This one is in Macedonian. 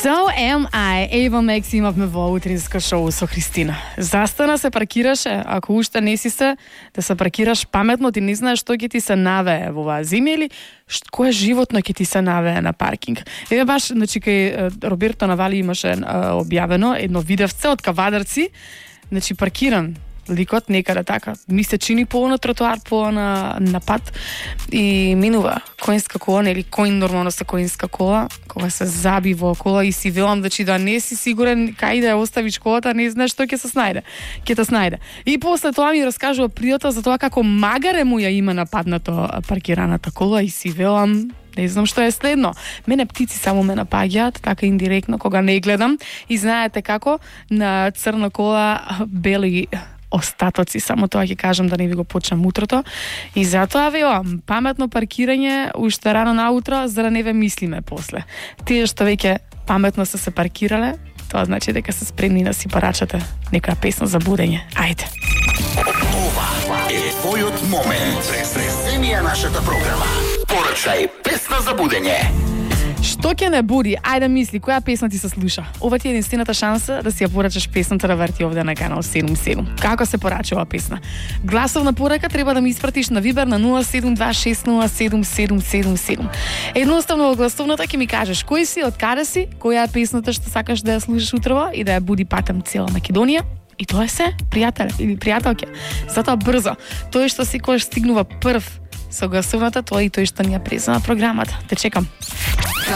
So am I. Eva Max имавме во утринско шоу со Христина. Застана се паркираше, ако уште не си се, да се паркираш паметно, ти не знаеш што ќе ти се навее во оваа зима или кое животно ќе ти се навее на паркинг. Еве баш, значи, кај Роберто Навали имаше објавено едно видевце од кавадарци, значи паркиран ликот некаде така, ми се чини по на тротоар, по на пат и минува коинска кола, нели коин нормално се коинска кола, кога се заби во кола и си велам да не си сигурен кај да ја оставиш колата, не знаеш што ќе се снајде. Ќе те снајде. И после тоа ми раскажува пријател за тоа како магаре му ја има нападнато паркираната кола и си велам не знам што е следно. Мене птици само ме напаѓаат, така индиректно, кога не гледам. И знаете како, на црна кола бели остатоци, само тоа ќе кажам да не ви го почнам утрото. И затоа велам, паметно паркирање уште рано наутро, за да не ве мислиме после. Тие што веќе паметно се паркирале, тоа значи дека се спремни да си порачате некоја песна за будење. Ајде. Ова е твојот момент. Пресни ја нашата програма. Порачај песна за будење. Што ќе не буди? Ајде мисли, која песна ти се слуша? Ова ти е единствената шанса да си ја порачаш песната да врти овде на канал 77. Како се порача оваа песна? Гласовна порака треба да ми испратиш на Вибер на 072607777. Едноставно во гласовната ќе ми кажеш кој си, од каде си, која е песната што сакаш да ја слушаш утрово и да ја буди патем цела Македонија. И тоа е се, пријател или пријателке. Затоа брзо, тој што секогаш стигнува прв со гласовната, тоа и тој што ни ја презема програмата. Те чекам.